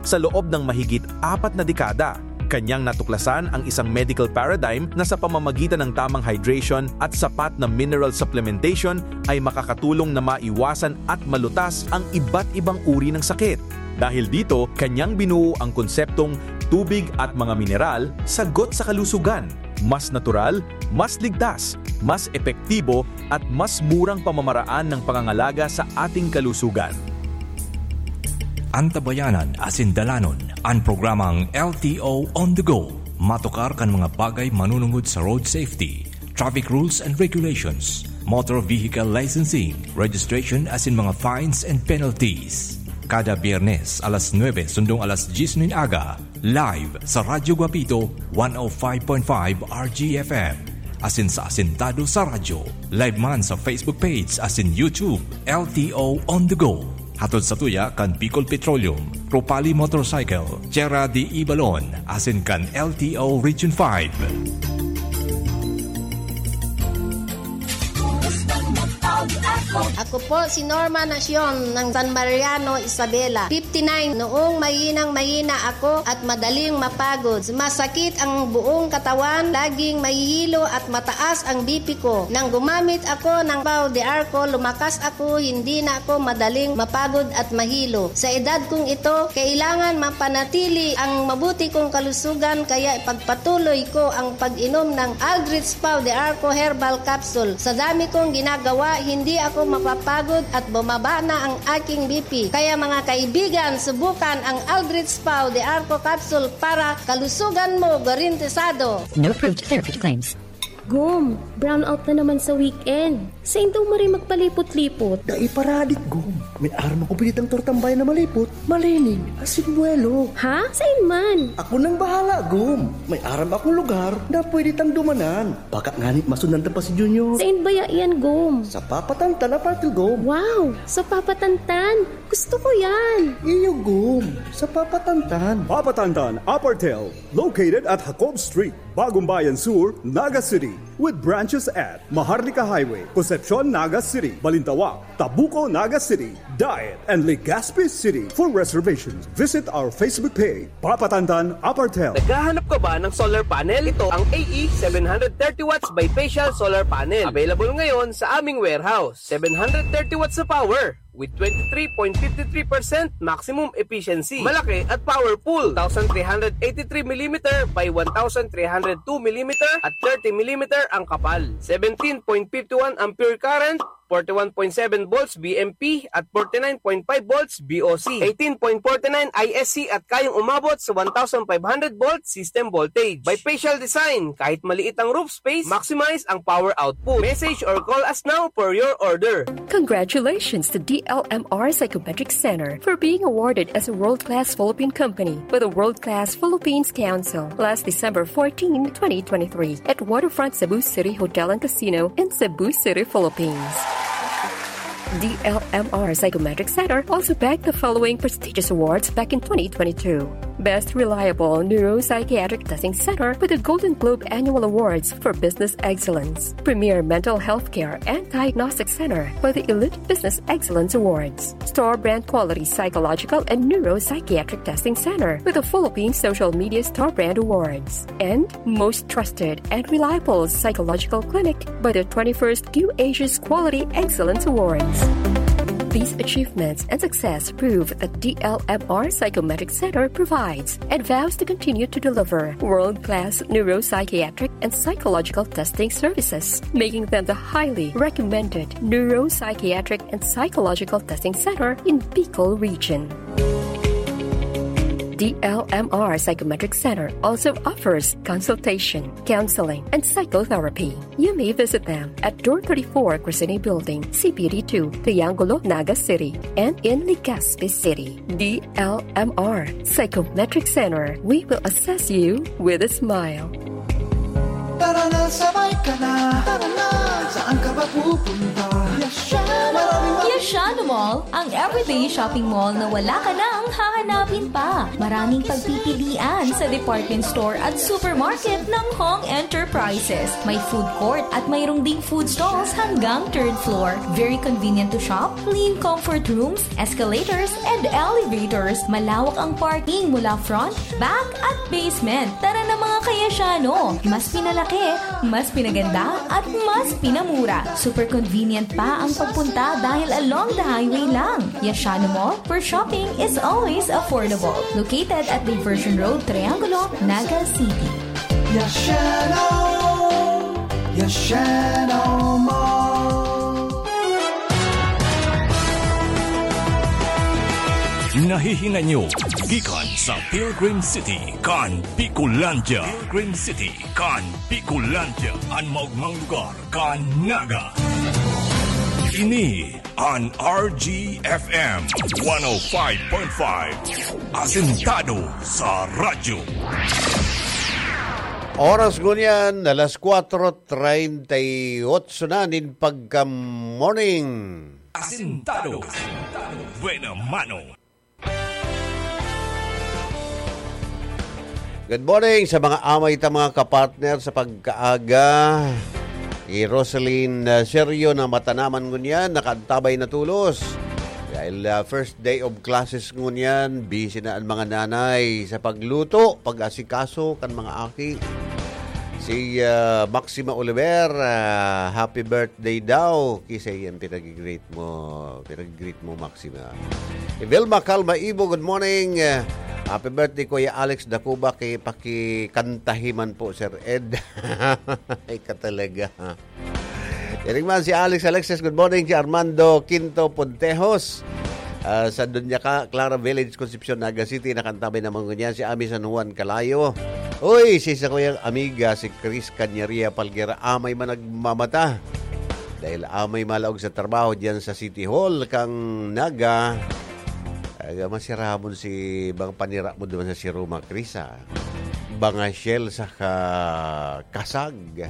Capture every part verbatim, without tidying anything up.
sa loob ng mahigit apat na dekada. Kanyang natuklasan ang isang medical paradigm na sa pamamagitan ng tamang hydration at sapat na mineral supplementation ay makakatulong na maiwasan at malutas ang iba't ibang uri ng sakit. Dahil dito, kanyang binuo ang konseptong tubig at mga mineral, sagot sa kalusugan. Mas natural, mas ligtas, mas epektibo, at mas murang pamamaraan ng pangangalaga sa ating kalusugan. Antabayanan asin dalanon an programang L T O On The Go. Matukar kan mga bagay manunungod sa road safety, traffic rules and regulations, motor vehicle licensing, registration asin mga fines and penalties. Kada Biyernes, alas nuebe sundong alas dyes nin aga, live sa Radyo Guapito, one oh five point five R G F M. Asin sa Asintado sa Radyo. Live man sa Facebook page asin YouTube, L T O On The Go. Hatod sa tuya kan Bicol Petroleum, Propali Motorcycle, Tierra de Ibalon, asin kan L T O Region five. Ako po si Norma Nacion ng San Mariano, Isabela, fifty-nine. Noong mahinang-mahina ako at madaling mapagod, masakit ang buong katawan, laging mahihilo at mataas ang B P ko. Nang gumamit ako ng Pau de Arco, lumakas ako, hindi na ako madaling mapagod at mahilo. Sa edad kong ito, kailangan mapanatili ang mabuti kong kalusugan, kaya ipagpatuloy ko ang pag-inom ng Aldrich Pau de Arco Herbal Capsule. Sa dami kong ginagawa, hindi ako mapapagod at bumaba na ang aking B P. Kaya mga kaibigan, subukan ang Aldrich Pau de Arco Capsule para kalusugan mo garantisado. No approved therapeutic claims. Gom, brownout na naman sa weekend. Sain daw maray magpalipot-lipot? Dai paradik, Gom. May aram ako pinitang tortang bayan na malipot, malinig, asin buwelo. Ha? Sain man? Ako nang bahala, Gom. May aram akong lugar na pwede tang dumanan. Baka ngani masundan ta pa si Junior. Sain baya iyan, Gom? Sa Papatantan Apartel, Gom. Wow! Sa Papatantan? Gusto ko yan! Iyo, Gom. Sa Papatantan. Papatantan Apartel, located at Jacob Street, Bagong Bayan Sur, Naga City, with branches at Maharlika Highway, Concepcion, Naga City, Balintawak, Tabuco, Naga City, Daet, and Legazpi City. For reservations, visit our Facebook page, Papatantan Apartel. Naghahanap ka ba ng solar panel? Ito ang A E seven hundred thirty watts bifacial solar panel. Available ngayon sa aming warehouse. Seven hundred thirty watts sa power with twenty-three point fifty-three percent maximum efficiency. Malaki at powerful. Two thousand three hundred eighty-three millimeter by one thousand three hundred two millimeter at thirty millimeter ang kapal. Seventeen point fifty-one ampere current, forty-one point seven volts V M P at forty-nine point five volts V O C, eighteen point forty-nine I S C at kayang umabot sa one thousand five hundred volt system voltage. Bifacial design, kahit maliit ang roof space, maximize ang power output. Message or call us now for your order. Congratulations to D L M R Psychometric Center for being awarded as a world-class Philippine company by the World Class Philippines Council last December fourteen, twenty twenty-three, at Waterfront Cebu City Hotel and Casino in Cebu City, Philippines. D L M R Psychometric Center also bagged the following prestigious awards back in twenty twenty-two. Best Reliable Neuropsychiatric Testing Center with the Golden Globe Annual Awards for Business Excellence. Premier Mental Health Care and Diagnostic Center by the Elite Business Excellence Awards. Store Brand Quality Psychological and Neuropsychiatric Testing Center with the Philippine Social Media Store Brand Awards. And most trusted and reliable psychological clinic by the twenty-first Q Asia's Quality Excellence Awards. These achievements and success prove that D L M R Psychometric Center provides and vows to continue to deliver world-class neuropsychiatric and psychological testing services, making them the highly recommended neuropsychiatric and psychological testing center in Bicol Region. D L M R Psychometric Center also offers consultation, counseling, and psychotherapy. You may visit them at Door thirty-four, Crescene Building, C P D two, Triangulo, Naga City, and in Legazpi City. D L M R Psychometric Center, we will assess you with a smile. Tara na, sabay ka na. Tara na, saan ka ba pupunta? Yasha naman. Maraming Yasha naman. Ang everyday shopping mall na wala ka nang hahanapin pa. Maraming pagpipilian sa department store at supermarket ng Hong Enterprises. May food court at mayroong ding food stalls hanggang third floor. Very convenient to shop, clean comfort rooms, escalators, and elevators. Malawak ang parking mula front, back, at basement. Tara na, mga kayasyano! Mas pinalaki, mas pinaganda, at mas pinamura. Super convenient pa ang pagpunta dahil along the highway lang. Yashano Mall, where shopping is always affordable. Located at Diversion Road, Triangulo, Naga City. Yashano! Yashano Mall! Nahihinay nyo gikan sa Pilgrim City kan Bicolandia. Pilgrim City kan Bicolandia, an maogmang lugar kan Naga. Ini an R G F M one oh five point five, asentado sa radyo. Oras ngunyan, alas kwatro treinta y ocho na nin pagka-morning. Asentado. Buena mano. Good morning sa mga amay ta, mga kapartner sa pagkaaga. Ni Rosaline, uh, Sergio na matanaman ngunyan, nakaantabay na tulos. Dahil, uh, first day of classes ngunyan, busy na ang mga nanay sa pagluto, pag-asikaso kan mga aki. Si, uh, Maxima Oliver, uh, happy birthday daw. Kisay ang pinag-greet mo, pinag-greet mo, Maxima. Evelma Calma Ibo, good morning. Uh, happy birthday, Kuya Alex Dacuba. Ki-, pakikantahi man po, Sir Ed. Ay ka talaga. Iring man si Alex Alexis, good morning. Si Armando Quinto Pontejos, ah, sa Doña Ca-, Clara Village, Concepcion, Naga City, nakantabay naman ngunyan si Ami San Juan Calayo. Uy, si sa kuyang amiga, si Chris Cañaria Palguera, amay man nagmamata. Dahil amay malaog sa trabaho diyan sa City Hall kang Naga. Aga, masiramon si bang panira mo duman sa si Roma, Chris, ah. Banga shell saka kasag.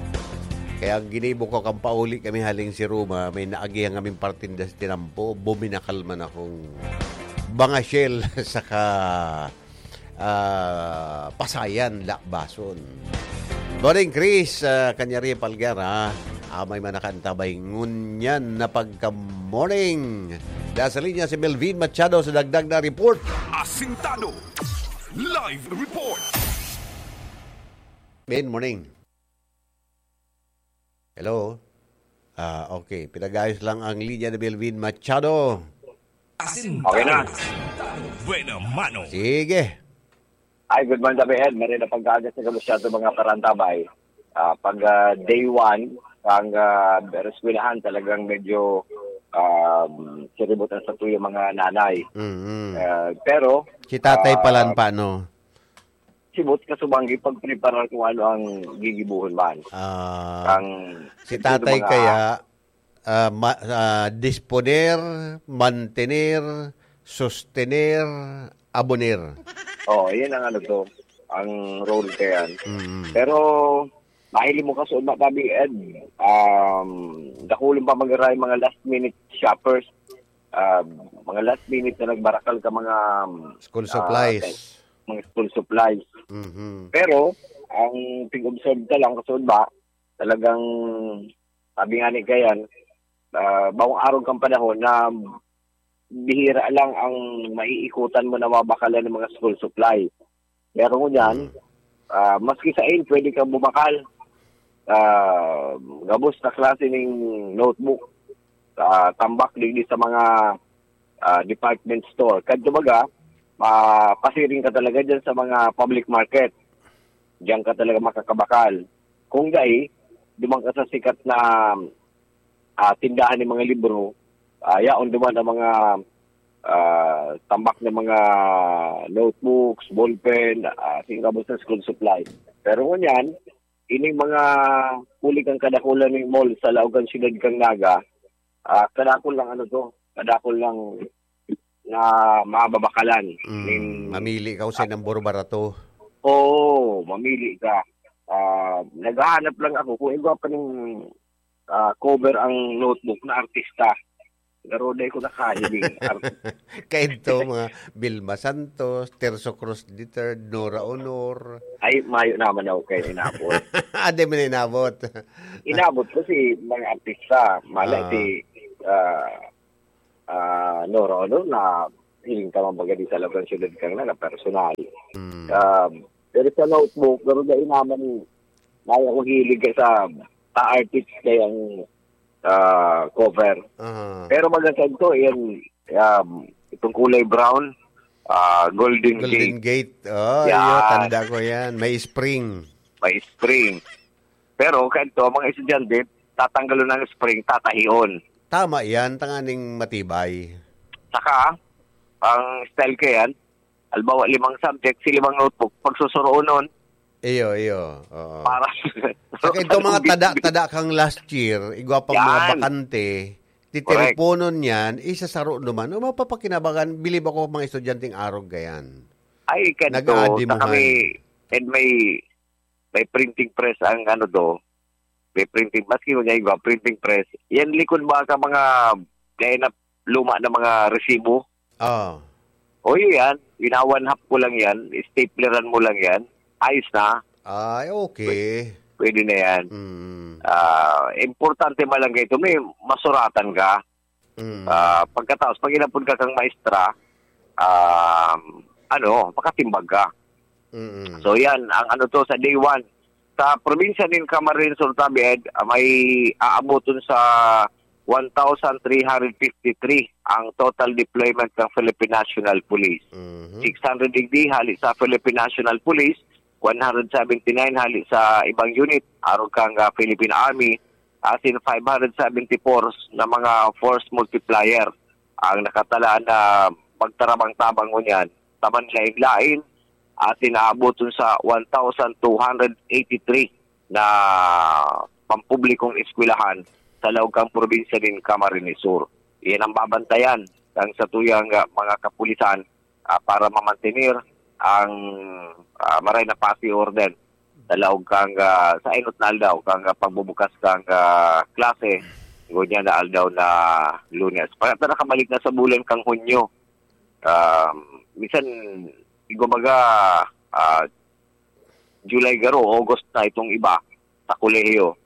Kaya ang ginibo ko, kan pauli kami haling si Roma, may naagihan kaming partinda sa tinampo, buminakal man akong banga shell saka, ah, pasayan, lakbason. Morning, Chris, ah, Kanyari Palguera. Amay man nakaantabay ngunyan na pagka-morning. Nasa linya si Melvin Machado sa dagdag na report. Asintado. Live report. Good morning. Hello? Ah, okay. Pinag-ayos lang ang linya ni Melvin Machado. Asintado. Okay na. Buena mano. Sige. Ay, good morning, Tabi Ed. Marina pagkaga sa kalusyado, mga parantabay. Ah, pag, ah, day one, ang, ah, eskwelahan talagang medyo, um, siribot ang sa tuyo mga nanay. Mm-mm. Ah, pero, Si tatay ah, palan pa, no? Sibot kasubang ipagpreparar kung ano ang gigibuhon man. Ah, Ang si tatay mga kaya, ah, ma-, ah, disponer, mantener, sostener, aboner. Oh, yan ang ano to, ang role kaya. Mm. Pero, mahiling mo kasi, Tabi Ed, um, dakulin pa mag-aray mga last minute shoppers, ah, mga last minute na nagbarakal ka mga, School ah, supplies. Mga school supplies. Mhm. Pero, ang pig-observe ka lang, kasi ba, talagang, sabi nga ni Kayan, ah, bawang arog kang panahon na bihira lang ang maiikutan mo na mabakalan ng mga school supply. Pero ngunyan, Mm. ah, maski sa in, pwede kang bumakal. Ah, gabos na klase ning notebook. Ah, tambak digdi sa mga, ah, department store. Kadto baga, mapasiring ka talaga dyan sa mga public market. Diyan ka talaga makakabakal. Kung dai, duman ka sa sikat na, ah, tindahan ng mga libro, ah, yaon duman ang mga, ah, tambak na mga notebooks, ballpen, ah, singkabos na school supply. Pero ngunyan, ining mga huli kang kadakulan ng mall sa laog kan siyudad kang Naga, ah, kadakul lang ano to, kadakul lang na mababakalan. Mm, Ning mamili ka kung saan ang barbarato. Oo, mamili ka. Ah, naghahanap lang ako kung igwa pa ning, ah, cover ang notebook na artista. Garo dai ko nakahiling. Ar- Kaidto, mga Vilma Santos, Terso Cruz the third, Nora Honor. Ay, mayo naman ako kay inabot. Ah, di mo na inabot. Inabot ko si mga artista. Mala Ah. si, ah, ah, Nora Honor na hiling ka man baga di sa Labuan Syudad kang na, na personal. Hmm. Um, pero sa Notebook, pero dai naman, mayo ako hilig sa, sa artist kayang, ah, cover. Aha. Pero maganda ito, yan, um, itong kulay brown, ah, Golden Golden Gate. Gate. Oh, Yan. iyo, tanda ko yan. May spring. May spring. Pero, kaito, mga estudyante, tatanggalon ang spring, tatahion. Tama yan, tanganing matibay. Saka, ang style ko yan, halimbawa, limang subject, si limang notebook, pagsusuroonon. Iyo, iyo. Oo. Para Saka itong mga tada, tada kang last year, igwa pang mga Yan. bakante, titiriponon yan, isasaro naman. O, mapapakinabangan, bilib ako mga estudyanteng arog gayan. Ay, kanto, Nag-aadimuhan. sa kami, and may, may printing press ang ano do, may printing, maski mo niya igwa, printing press. Yan likod ba ka mga, kaya na luma na mga resibo? Oo. O, yun yan. Winawanhap ko lang yan. Stapleran mo lang yan. Ayos na. Ay, okay. Pwede na yan. Mm. Ah, importante man lang kayo, may masuratan ka. Mm. Ah, pagkatapos, pag inapod ka kang maestra, um, ano, makatimbag ka. Mm. So, yan, ang ano to, sa day one. Sa probinsya nin Camarines Sur, Tabi Ed, ah, may aaboton sa one thousand three hundred fifty-three ang total deployment ng Philippine National Police. Mhm. Six hundred digdi hali sa Philippine National Police, one hundred seventy-nine hali sa ibang unit, arog kang, ah, Philippine Army, asin five hundred seventy-four na mga force multiplier ang nakatalaan na magtarabang-tabang ngunyan. Taman lain-lain, asin naaboton sa one thousand two hundred eighty-three na pampublikong eskwelahan sa laog kang probinsya nin Camarines Sur. Iyan ang babantayan ng satuyang, ah, mga kapulisan, ah, para mamantener ang, ah, maray na pasi orden sa laog kang, ah, sa enot na aldaw kang, ah, pagbubukas kang, ah, klase, ngunyan na aldaw na Lunes. Pagka nakabalik na sa bulan kang Hunyo, um, minsan, kumbaga, ah, July garo, August na itong iba sa kolehiyo.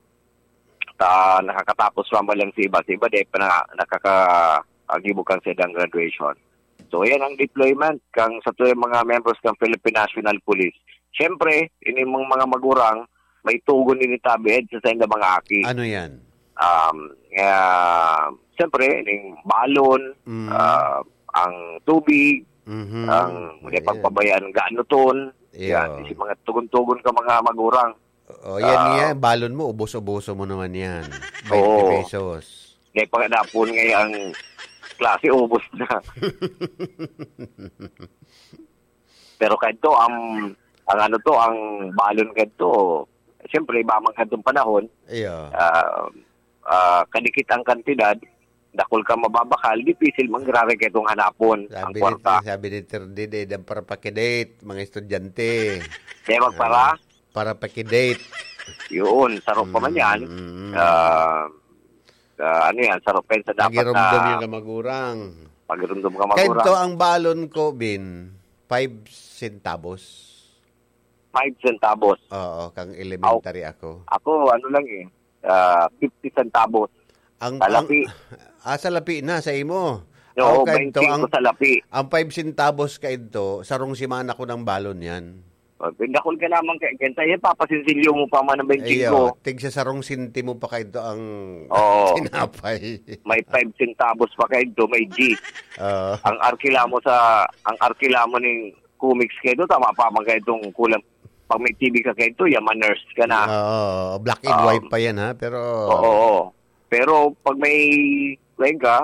Ta, nakakatapos pa man lang sa iba. Sa iba, di pa na, nakaka-, ah, gibo kang sa ilang graduation. So, yan ang deployment kang sa tuwing mga members ng Philippine National Police. Siyempre, ini mong mga magurang, may tugon din ni Tabi Ed sa saindang mga aki. Ano yan? Um, ah, siyempre, ning balon, Mm. ah, ang tubig, Mhm. ang Ayan. pagpabayaan, ganuton. Iyo. Yan, si mga tugon-tugon ka mga magurang. O, yan Ah. nga, balon mo, ubos-uboso mo naman yan. Oo. Twenty pesos. Dahil pagkadapon ngayon ang klase, ubos na. Pero kadto, ang, ang ano to, ang balon kadto, siyempre, iba man kadtong panahon, Iyo. ah, ah, kadikit ang kantidad, dakul ka mababakal, dipisil manggiraray kaitong hanapon, ang Sabi ni, kwarta. sabi ni Ter Dede, "Dam para pakidate, mga estudyante." Kaya magpara? Ah, para pakidate. Yun, sarap pa man yan. Mm, mm, mm. Ah, ah, ano yan, sarap pa yan sa dapat Pagirumdom na yung kamagurang. pagirumdom ka Kento magurang. ang balon ko, Bin, five centavos. Five centavos. Oo, kang elementary Aw. ako. Ako, ano lang eh, ah, fifty centavos. Ang, Sa ang, lapi. ah, sa lapi na, sa imo. Oo, Ako, kento, twenty-five ang, sa lapi. ang five centavos kento, sarong simana ko ng balon yan. Oh, dakul ka naman kay, kenta, yan, papasinsilyo mo pa man ang twenty-five. Iyo, tig sa sarong sentimo pa kento ang Oo. tinapay. May five centavos pa kento, may G. Oo. Ang arkila mo sa, ang arkila mo ning comics kento, tama pa man kentong kulang. Pag may T V ka kento, yaman nurse ka na. Oo, black and Um, white pa yan, ha? Pero oo, oo. Pero pag may, kuwan ka,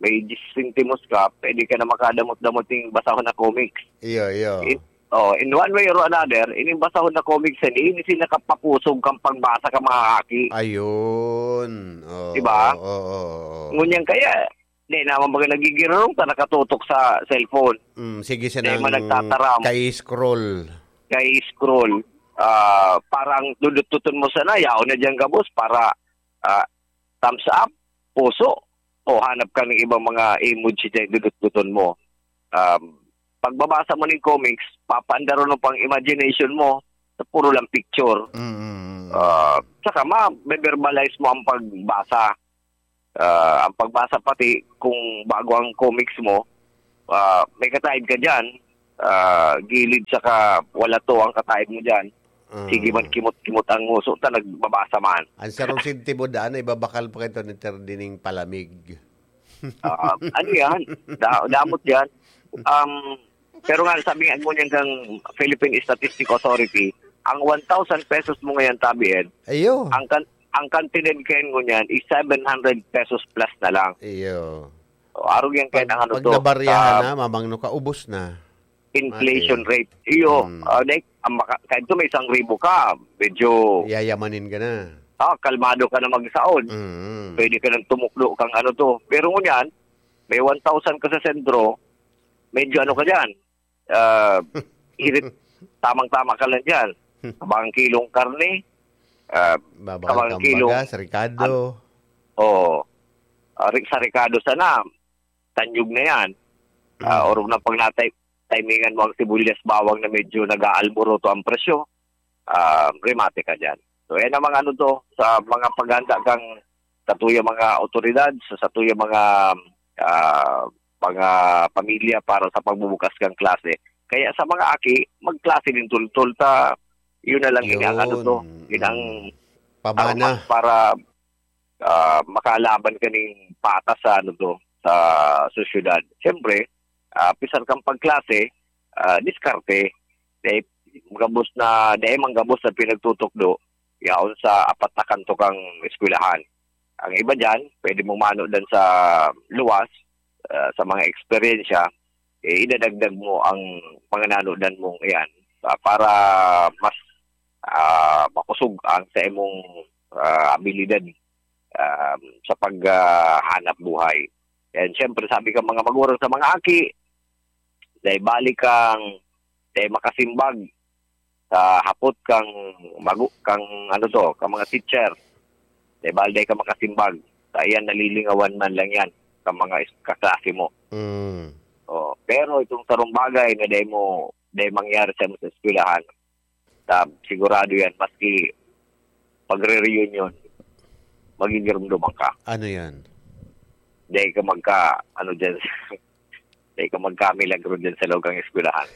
may diyes sentimos ka, pwede ka na makadamot-damot yung basahon na comics. Iyo, iyo. In, oh, in one way or another, ining basahon na comics yan, ini si nakapapusog kang pagbasa ka, mga aki. Ayun. Oo, Diba? oo, oo, oo. Ngunyan kaya, di naman baga nagigirong ta nakatutok sa cellphone. Mm, sige, Di man sinang nagtataram. kay scroll. Kay scroll. Ah, parang dudututon mo sana, yaon na dyan gabos para, ah, thumbs up, puso. O hanap ka ng ibang mga emoji dyan, dudutduton mo. Um, pagbabasa mo ng comics, papaandaron mo pang imagination mo sa puro lang picture. Mm. Ah, saka ma-verbalize mo ang pagbasa. Ah, ang pagbasa pati kung bago ang comics mo, ah, may kataib ka dyan, ah, gilid saka wala to ang kataib mo dyan. Mm. Sige man, kimot-kimot ang nguso ta, nagbabasa man. Ang sarong sentibo daan, ibabakal pa kayo ni Terdining palamig. Ah, ano yan? Da-, damot yan. Um, pero nga, sabi nga ngunyan kang Philippine Statistic Authority, ang one thousand pesos mo ngayon, tabi, Ed, Ayo. ang kan-, ang kantidad kayo ngunyan is seven hundred pesos plus na lang. Iyo. O, arog yan kayo Pag, ng ano pag to, nabaryahan sa na, mamangno ka, ubos na. Inflation Mati. rate. Iyo, Mm. ah, like, ang maka-, kahit to may isang ribo ka, medyo Yayamanin ka na. ah, kalmado ka na magsaon. Mm. Pwede ka nang tumukdo kang ano to. Pero ngunyan, may one thousand ka sa sentro, medyo ano ka dyan, ah, irit-, tamang-tama ka lang dyan. Kabang kilong karne, ah, Babakal kabang kang kilong bagas, rikado. Oo. Ah, ri-, sa rikado sana, tanyog na yan. Ah, Mm. orog na pag natay-, timingan mo ang sibuyas, bawang na medyo nag-aalburuto ang presyo, ah, remate ka dyan. So, yan ang mga ano to, sa mga paghanda kang satuya mga otoridad, sa satuya mga, ah, mga pamilya para sa pagbubukas kang klase. Kaya sa mga aki, magklase din tultol ta, yun na lang ini ang ano to, Yun. yun ang Mm. Pamana. aromas para, ah, makalaban kaning patas sa ano to, sa sosyedad. Siyempre, ah, pisar kang pagklase, ah, diskarte. Dahil gabos na, dahil man gabos na pinagtutukdo, yaon sa apat na kanto kang eskwelahan. Ang iba dyan, pwede mong manodan sa luwas, ah, sa mga eksperyensya, eh, idadagdag mo ang mga nanodan mong iyan, ah, para mas, ah, makusog ang sa imong, ah, abilidad, ah, sa pag, ah, hanap buhay. And siyempre, sabi ka mga magurang sa mga aki, dahil balik kang, dahil makasimbag sa hapot kang magu-, kang ano to, kang mga teacher. Dahil balik dahil ka makasimbag. Sa iyan, nalilingawan man lang yan, kang mga is-, kaklase mo. Mm. Oh, pero itong sarong bagay na dahil mo, dahil mangyari sa, sa eskwelahan, sa, sigurado yan, maski pagre-reunion, magigirumduman ka. Ano yan? Dahil ka magka, ano dyan, dahil ka magkamilagro dyan sa loob ng eskwelahan.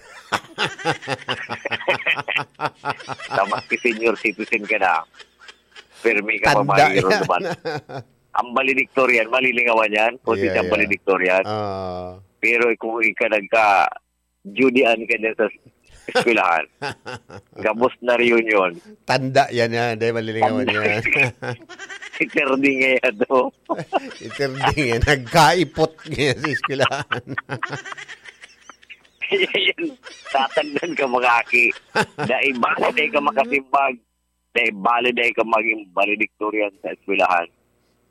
Sa maski senior citizen ka na, permi ka pa Tanda yan. magigirumduman. Ang valedictorian, malilingawan yan. Kung Yeah, siyang yeah. valedictorian. Ah. Pero kung ika nagka, Judy Ann ka dyan sa eskwelahan. Gabos na reunion. Tanda yan, yan. Dahil malilingawan Tanda. yan. Si Terdy nga yan, to. Si Terdy nga, nagkaipot nga sa eskwelahan. Yan, tatandaan ka, mga aki. Dahil basta dahil ka makasimbag, dahil bali dahil ka maging valedictorian sa eskwelahan,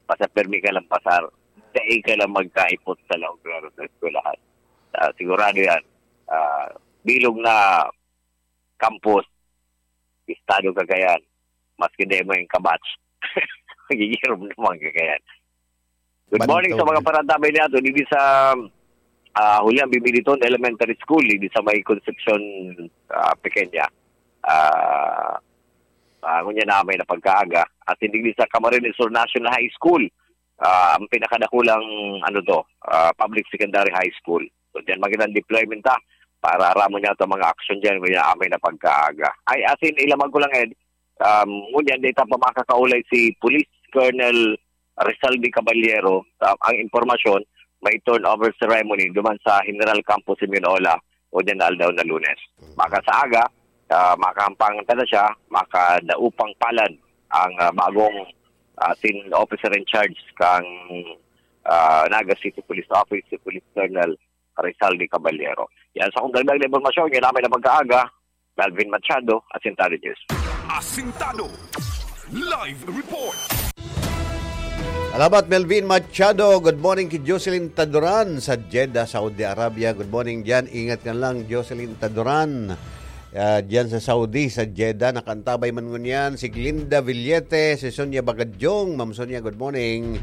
basta permi ka lang pasar, dahil ka lang magkaipot sa laog klaro sa eskwelahan. Ah, sigurado yan. Ah, bilog na campus, estado Cagayan, maski dahil mo yung kabatch. Magigirom naman Cagayan. Good morning sa Bantog. mga parantabay niya. Ito, dito sa, ah, Julian Bibiliton Elementary School, dito sa may Concepcion, ah, Pequeña. Ah, ah, ngunyan na may napagkaaga. At hindi sa Camarines Sur National High School, ah, ang pinakadakulang, ano to, ah, public secondary high school. So, diyan magandang deployment ta para aramon niya itong mga aksyon diyan, ngunyan na may napagkaaga. Ay, as in, ilamag ko lang, Ed, um, ngunyan, data pa makakaulay si Police Colonel Rizal de Caballero, ah, ang impormasyon, may turnover ceremony duman sa General Campus Iminola o dyan na aldaw na Lunes. Maka sa aga, ah, makahampang ta na siya, makadaupang palad ang, ah, bagong, ah, sin officer in charge kang, ah, Naga City Police Office, si Police Colonel Rizal de Caballero. Yan sa kong dagdag na impormasyon, yan namin na pagkaaga, Melvin Machado, Asintado News. Asintado. Live report. Salamat, Melvin Machado. Good morning ki Jocelyn Taduran sa Jeddah, Saudi Arabia. Good morning diyan. Ingat ka lang, Jocelyn Taduran. Ah, diyan sa Saudi, sa Jeddah, nakaantabay man ngunyan si Glinda Villete, si Sonia Bagadyong. Ma'am Sonia, good morning.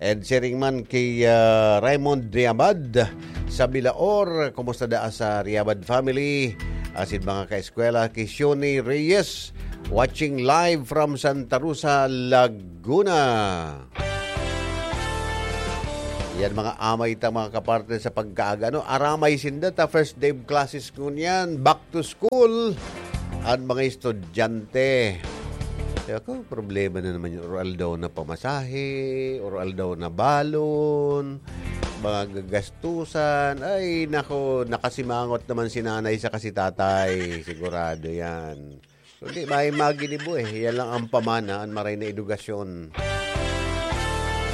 And siring man ki, ah, Raymond Riabad sa Bilaor. Kumusta daa sa Riabad family? Asin mga kaeskwela ki Sione Reyes, watching live from Santa Rosa, Laguna. Yan mga amay ta, mga kapartner, sa pagkaaga. Ano, aramay sinda ta first day of classes ngunyan. Back to school. An mga estudyante. Kaya ko, problema na naman yung or aldaw na pamasahe, or aldaw na balon, mga gagastusan. Ay, nako, nakasimangot naman si nanay saka si tatay. Sigurado yan. Kundi may maginibo eh. Yan lang ang pamana, ang maray na edukasyon.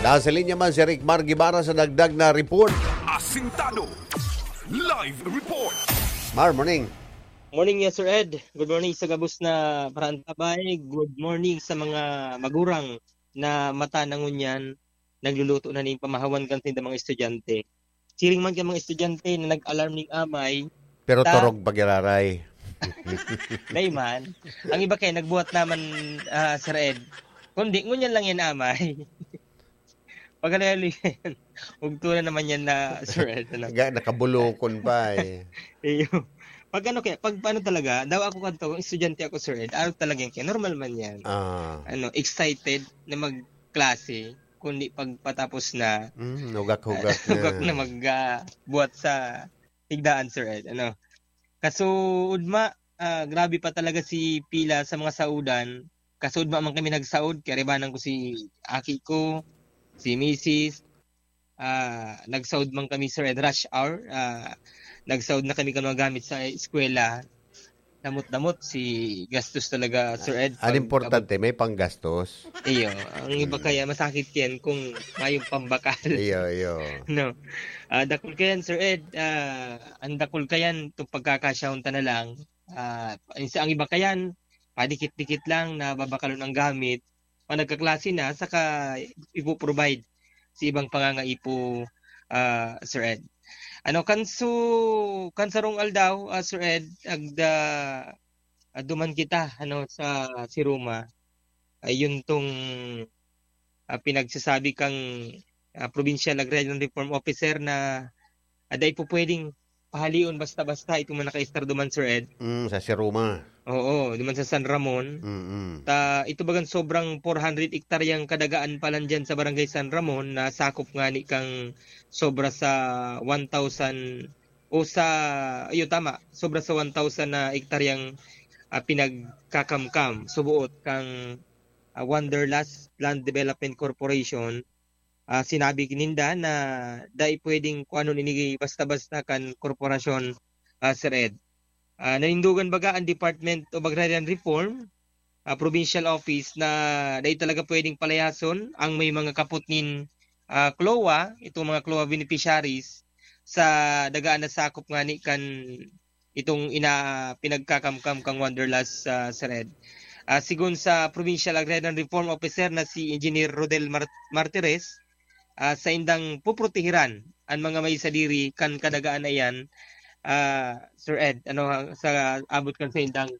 Nasa linya man si Rick Mar Guevara sa dagdag na report. Asintado. Live report. Mar, morning. Morning, yes, Sir Ed. Good morning sa gabos na paraantabay. Good morning sa mga magurang na mata na ngunyan nagluluto na ning pamahawan kan saindang mga estudyante. Siring man kan mga estudyante na nag-alarm ning amay, Pero ta- torog pa giraray. Dai man. Ang iba kaya nagbuhat naman, ah, Sir Ed. Kundi, ngunyan lang yan amay. Pagkalayo yan. Ugto na naman yan na, Sir Ed. Ano? Ga-, nakabulokon pa eh. Iyo. Pag ano kaya, pag ano talaga, daw ako kanto, kung estudyante ako, Sir Ed, araw talaga yan kaya, normal man yan. Ah. Ano, excited na magklase, kundi pagpatapos na, Mm, hugak-hugak na. Hugak na mag, ah, buhat sa higdaan, Sir Ed. Ano? Kaso, udma, ah, grabe pa talaga si pila sa mga saudan. Kaso, udma man kami nagsaod, kaya ribanan ko si aki ko, si misis, ah, nagsaod man kami, Sir Ed, rush hour. Ah, nagsaod na kami kan mga gamit sa eskwela. Damot-damot si gastos talaga, Sir Ed, Ang pag importante, may panggastos. Iyo, ang iba Mm. kaya masakit yan kung mayong pambakal. Iyo, iyo. No. Ah, dakul kayan, Sir Ed, ah, ang dakul kayan, itong pagkakasyahon ta na lang. Ah, ang isa, ang iba kayan, padikit-dikit lang na babakalon ang gamit. Pag nagkaklase na, saka ipo-provide sa ibang pangangaipo, ah, Sir Ed. Ano, kan su-, kan sarong aldaw, ah, Sir Ed, agda, ah, duman kita, ano, sa Siruma. Ayun tong, ah, pinagsasabi kang, ah, Provincial Agrarian Reform Officer na, ah, dai po pwedeng pahalion basta-basta itong mga nakaistar duman, Sir Ed. Mm, sa Siruma. Oo, duman sa San Ramon. Mm-mm. Ta, ito bagang sobrang four hundred hektaryang kadagaan pa lang dyan sa Barangay San Ramon na sakop ngani kang sobra sa one thousand o sa, iyo, tama, sobra sa one thousand na hektaryang, ah, pinagkakamkam, suboot kang, ah, Wanderlust Land Development Corporation. Ah, sinabi ninda na dai pwedeng kuanon ini basta-basta kan korporasyon, ah, Sir Ed. Ah, nanindogan baga ang Department of Agrarian Reform, ah, provincial office na dai talaga pwedeng palayason ang may mga kapot nin, ah, CLOA, itong mga CLOA beneficiaries sa dagaan na sakop ngani kan itong ina-, pinagkakamkam kang Wanderlust, ah, Sir Ed. Ah, sigon sa Provincial Agrarian Reform Officer na si Engineer Rodel Mar-, Martires, ah, saindang puprotehiran an mga may sadiri kan kadagaan na iyan, ah, Sir Ed, ano, sa abot kan saindang,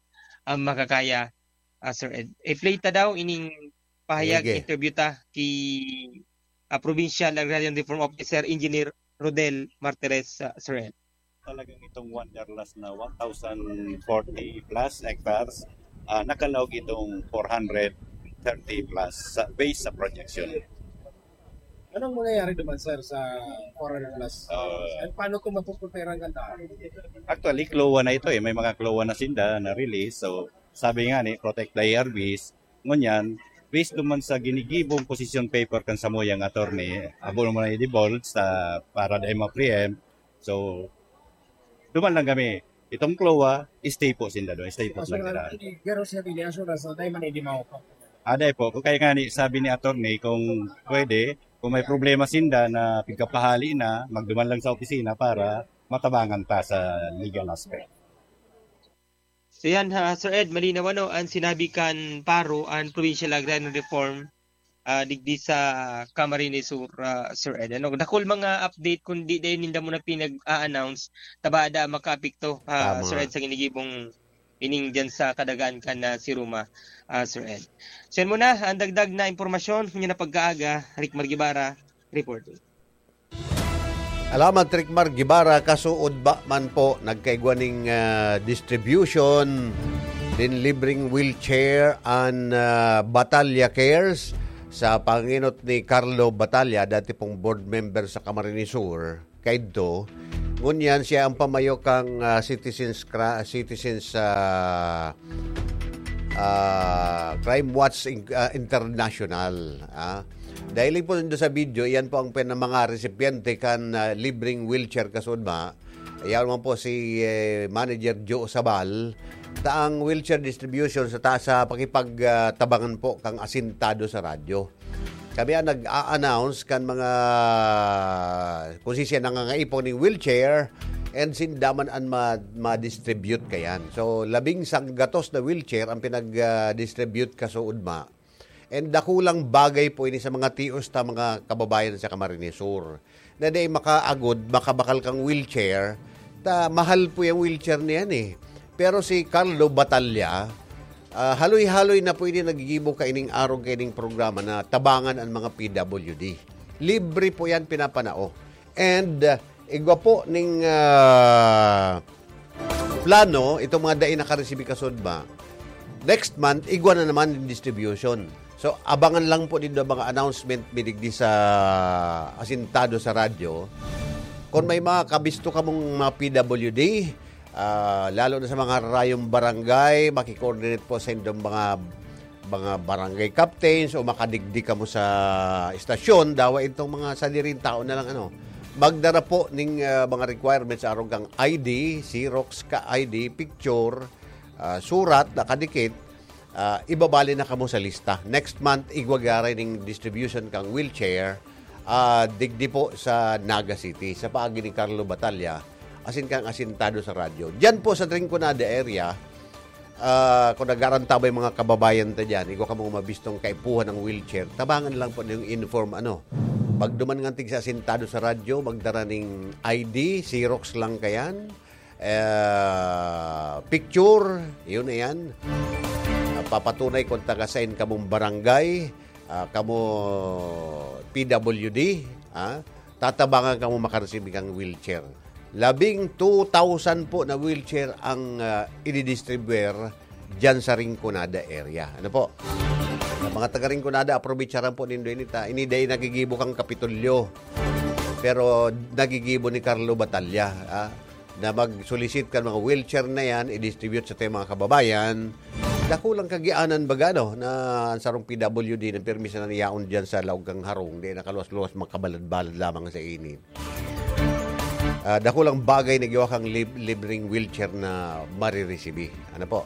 ah, makakaya, ah, Sir Ed. I-play ta daw ining pahayag, Sige. Interview ta ki, ah, Provincial Agrarian Reform Officer Engineer Rodel Martires, ah, Sir Ed. Talagang itong Wanderlust na one thousand forty plus hectares, ah, nakalaog itong four hundred thirty plus sa, based sa projection. Anong mangyayari naman, sir, sa four hundred plus? Ah. At paano kung mapupunta ang ganda? Actually, CLOA na ito eh. May mga CLOA na sinda na release. So, sabi nga ni, protect the A R Vs. Ngunyan, based naman sa ginigibong position paper kan samuyang attorney, abo naman na i-devolve sa para dai ma-preempt. So, duman lang kami. Itong CLOA, stay po sinda doon. Stay po Kaso lang naman, sila. Hindi, pero siya, hindi, assurance na tayo man, hindi maupa. Aday po, kung kaya nga ni, sabi ni attorney, kung pwede, kung may problema sinda na pigkapahali na, magduman lang sa opisina para matabangan ta sa legal aspect. So yan, ha, Sir Ed, malinaw ano, ang sinabi kan paro, ang Provincial Agrarian Reform, ah, digdi sa Camarines Sur, ah, Sir Ed. Ano, dakul mga update, kung di dahil ninda mo na pinag-a-announce, tabada makaapekto, ah, Tama. Sir Ed, sa ginigibong ining dyan sa kadagaan kan na si Roma, ah, Sir Ed. So yan muna, ang dagdag na impormasyon, kanya na pagkaaga, Rick Margibara, Reporting. Alamat, Tricmar Guevara, kasuod ba man po nagkaigwa ning, ah, distribution din libreng wheelchair an, ah, Batalla Cares sa panginot ni Carlo Batalla, dati pong board member sa Camarines Sur, kaidto. Ngunyan siya ang pamayo kang, ah, Citizens Cra-, Citizens, ah, ah, Crime Watch In-, ah, International, ah. Dahil po nindo sa video, iyan po ang pin-, mga resipiente kan, ah, libreng wheelchair kasuod ba. Iyan man po si, eh, Manager Joe Sabal. Ta ang wheelchair distribution sa ta-, sa pakipag, ah, tabangan po kang asintado sa radyo. Kami ang nag-a-announce kan mga, kung si siya nangangaipo ning wheelchair, and sinda man an ma-, ma-distribute kayan. So, labing sanggatos na wheelchair ang pinag, ah, distribute kasuod ma. And dakulang bagay po ini sa mga tios ta mga kababayan sa Camarines Sur, na dai makaagod, makabakal kang wheelchair, ta mahal po yung wheelchair niyan eh. Pero si Carlo Batalla, ah, haloy-haloy na po ini nagigibo kaining arog kaining programa na tabangan ang mga P W D. Libre po yan pinapanao. And, ah, igwa po ning, ah, plano, itong mga dai nakaresibi kasudma, next month, igwa na naman yung distribution. So, abangan lang po nindo mga announcement mi digdi sa asintado sa radyo. Kung may mga kabisto kamong mga P W D, ah, lalo na sa mga rayong barangay, maki-coordinate po sa indong mga, mga barangay captains o makadigdi kamo sa estasyon, dawa itong mga sadiring tao na lang, ano. Magdara po ning, ah, mga requirements, arog kang I D, Xerox ka I D, picture, ah, surat, nakadikit, ah, ibabali na kamo sa lista. Next month, igwa giraray ning distribution kang wheelchair, ah, digdi po sa Naga City, sa paagi ni Carlo Batalla, asin kang asintado sa radyo. Diyan po sa Rinconada area, ah, kung nag-aarantabay mga kababayan ta diyan, igwa kamong mabistong kaipuhan ang wheelchair, tabangan lang po yung inform, ano. Pagduman nga tig sa asintado sa radyo, magdara ning I D, Xerox lang kayan, eh, picture, yun na yan. Ah, papatunay kung taga sain kamong barangay, ah, kamo P W D, ah, tatabangan kamo makaresibi kang wheelchair. Labing two thousand po na wheelchair ang, ah, ididistribuer diyan sa Rinconada area. Ano po? Sa mga taga Rinconada, aprobecharan po nindo ini ta. Ini dai nagigibo kang Kapitolyo. Pero nagigibo ni Carlo Batalla, ah, na mag-solicit kan mga wheelchair na yan, i-distribute sa ating mga kababayan. Dakulang kagianan baga, no, na ang sarong P W D na pirmi sana niyaon diyan sa laog kang harong, di nakaluwas-luwas, makabalad-balad lamang sa init. Ah, dakulang bagay na giwa kang lib-, libreng wheelchair na mariresibi. Ano po?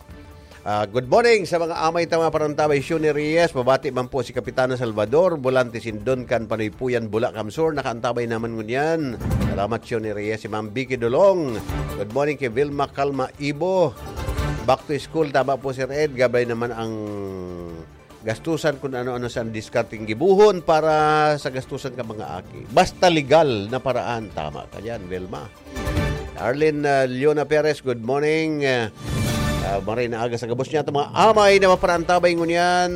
Ah, good morning sa mga amay ta mga parantabay, Shuni Reyes. Mabati man po si Kapitana Salvador, Volante Sindon, kan Panuypuyan, Bulacan Sur. Nakaantabay naman ngunyan. Salamat, Shuni Reyes. Si Ma'am Vicky Dolong. Good morning kay Vilma Calma Ibo. Back to school, tama po, Sir Ed. Gabay naman ang gastusan kung ano-ano sa diskarteng gibuhon para sa gastusan ka mga aki. Basta legal na paraan. Tama ka dyan, Vilma. Arlene, ah, Leona Perez, good morning. Ah, ah, maray na aga sa gabos niya. Itong mga amay na maparantabay ngunyan.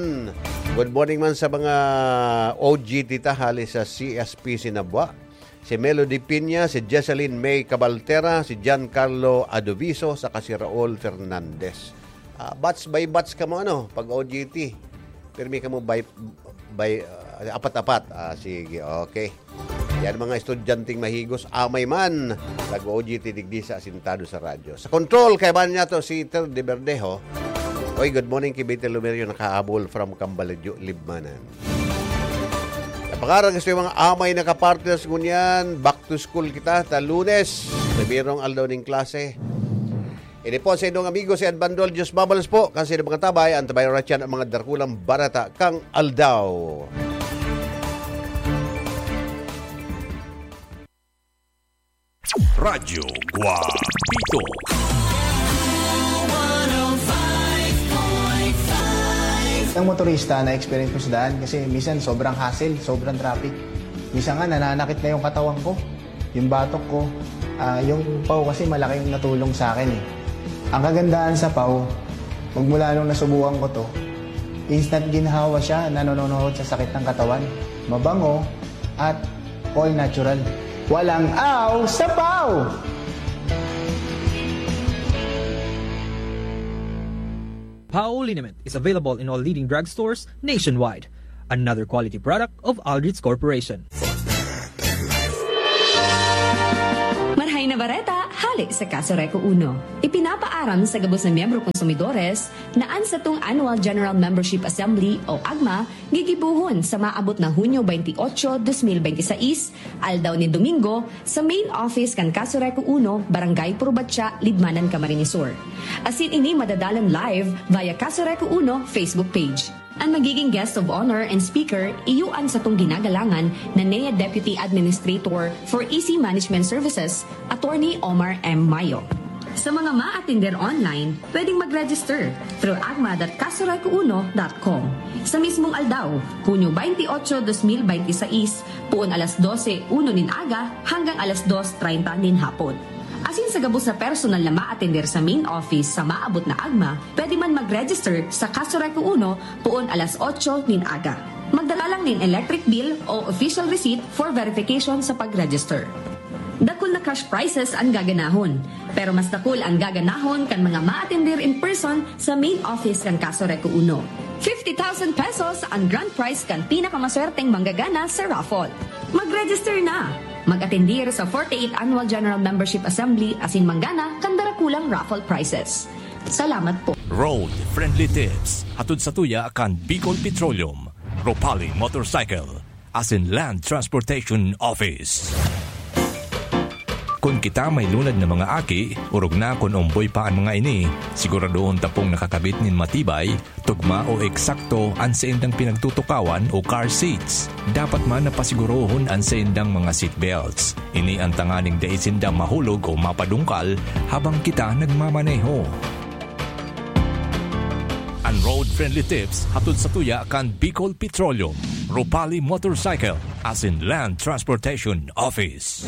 Good morning man sa mga O G T ta hali sa C S P Sinabwa. Si Melody Piña, si Jesseline May Cabaltera, si Giancarlo Adoviso, saka si Raul Fernandez. Ah, batch by batch kamo, ano, pag O G T. Pirmi kamo by, by, ah, apat-apat. Ah, sige, okay. Yan mga estudyanteng mahigos, amay man, nag-O G T digdi sa asintado sa radyo. Sa control, kaibahan niya to si Ter de Verdejo. Oy, good morning kay Betty Lumerio, nakaabol from Cambaladyo, Libmanan. Napangarang gusto yung mga amay na kapartners ngunyan, back to school kita, ta Lunes, primerong aldaw ning klase. Ini po sa inyong amigo si Edmando Dios Babalos po, kasi ng mga tabay, ang tabay oras yan ang mga dakulang barata kang aldaw. Radyo Guapito. Ang motorista na experience ko sa daan kasi minsan sobrang hassle, sobrang traffic. Minsan nga nananakit na yung katawan ko, yung batok ko. Ah, yung pau kasi malaking natulong sa akin eh. Ang kagandahan sa pau, magmula nung nasubukan ko to, instant ginhawa siya, nanononohod sa sakit ng katawan. Mabango at All natural. Walang aw sa pau! Pau liniment is available in all leading drugstores nationwide. Another quality product of Aldrich Corporation. Marhay na bareta, hale sa Casureco Uno. Ipinapaaram sa gabos na miyembro konsumidores na an satong Annual General Membership Assembly o agma gigibohon sa maabot na Hunyo twenty-eight, twenty twenty-six, aldaw nin Domingo, sa main office kan Casureco Uno, Barangay Purbatya, Libmanan, Camarines Sur. Asin ini madadalan live via Casureco Uno Facebook page. An magiging guest of honor and speaker iyo an satong ginagalangan na N E A Deputy Administrator for E C Management Services, Attorney Omar M. Mayo. Sa mga maatender online, pwedeng mag-register through agma dot casureco uno dot com. Sa mismong aldaw, Hunyo twenty-eight, twenty twenty-six, puon alas dose uno nin aga hanggang alas dos treinta nin hapon. Asin sa gabos na personal na maatender sa main office sa maabot na agma, pwede man mag-register sa Casureco Uno puon alas otso nin aga. Magdala lang nin electric bill o official receipt for verification sa pag-register. Dakul na cash prizes an gaganahon, pero mas dakul an gaganahon kan mga maatender in person sa main office kan Casureco Uno. Fifty thousand pesos an grand prize kan pinakamaswerteng manggagana sa raffle. Mag-register na! Mag-atendir sa forty-eighth Annual General Membership Assembly asin manggana kan darakulang raffle prizes. Salamat po. Road Friendly Tips, hatod sa tuya kan Bicol Petroleum, Ropali Motorcycle, asin Land Transportation Office. Kun kita may lunad na mga aki, orog na kun omboy pa an mga ini, siguradohon ta pong nakakabit nin matibay, tugma o eksakto an saindang pinagtutukawan o car seats. Dapat man na pasigurohon an saindang mga seat belts. Ini an tanganing dai sinda mahulog o mapadungkal habang kita nagmamaneho. An Road Friendly Tips hatod sa tuya kan Bicol Petroleum, Ropali Motorcycle, asin Land Transportation Office.